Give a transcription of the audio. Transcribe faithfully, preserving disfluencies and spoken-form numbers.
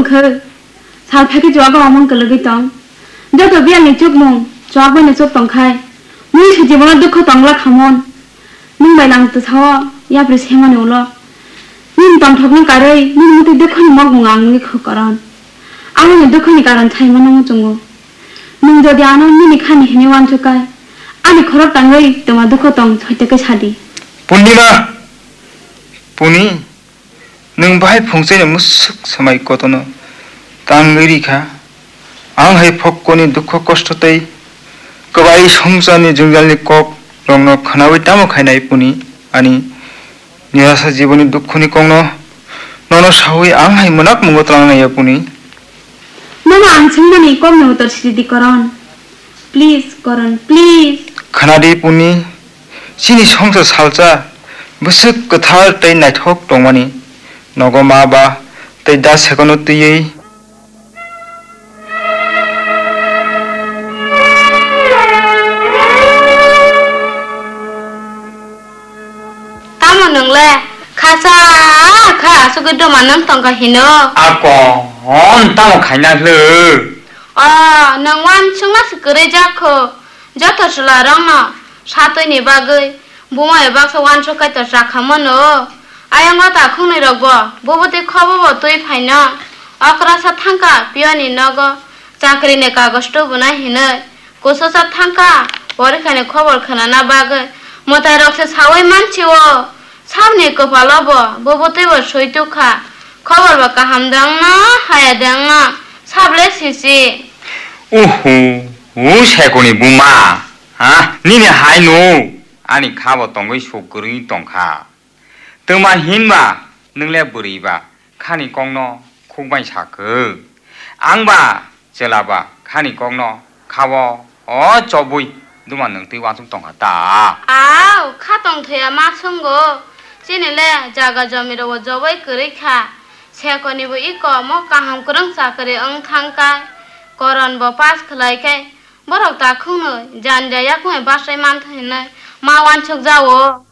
Khe, sal phaikhe chuago omon kwlwgwi tong. Joto biyalni chukmung chuak baino chuk tongkhai. Mui se jibono dukho tongla khamon. Nwng bai lang twsao yapri semani ulo. Nini tongthokno karwi nini mwtwi dukhoni mokmung ang wngwi kho koron. Aboni dukhoni karon saimano muchungo. Nwng jodi ano nini khani hinwi uansukkhai, ani khorok tangwi twma dukho tong soitokhe sadi. Purnima! Puni, nwng bahai phungchaino mwswk swmai kotono tangwi rikha. Ang hai phokkoni dukho kosto tei kwbai swngcharni jwngjalni kok rokno khwnawi tamo khainai Puni, ani nirasa jiboni dukhoni kokno nono sawi ang hai mwnak mungo twlang naiya Puni. Mama, ang swngmani kokni utor sidi Koron. Please, Koron, please. Khwnadi Puni, chini swngchar salsa bwswk kwthar tei naithok tongmani. Nogo ma ba tei da sekono twiwi. Tamo nwng le khasa kha asugwi duma nwng tongkha hino. Akon tamo khaina hlo? O, nwng uansukma se kwrwi jak kho. Joto chwla rokno satwi ni bagwi buma bai baksa uansuk kaitor chakha mano. Ayang o takhuk nwi rok bo, bo bwtwi khobo bo twi phaino. Okra sa thangkha piyoni nogo chakri ni kagoj tubuna hinwi. Kususa thangkha, porikhani khobor khwnana bagwi mwtairokse saui mansi-o. Sabni kwpalo bo, bo bwtwi bo sui tukha. Khobor bo kaham de wngna, haya de wngna, sable sisi. Uhu, u Sekoni buma, ha? Nini hai no ani kha bo tongwi suk kwrwi tongkha. Twma hinba nwng le bwrwi ba khani kokno khukbai sa khe. Ang ba chwla ba khani kokno kha-o o chobwi duma nwng twi uansuk tongkha ta. Au, kha tongthaya ma swngo. Chini le jaga jomi rok bo joboi kwrwi kha. Sekoni bo iko mo kaham kwrwng chakri wng thang kai. Koron bo pass khlai kai. Borok takhuk nwi janja yakung bai bachai mantha hinwi ma uansuk jao.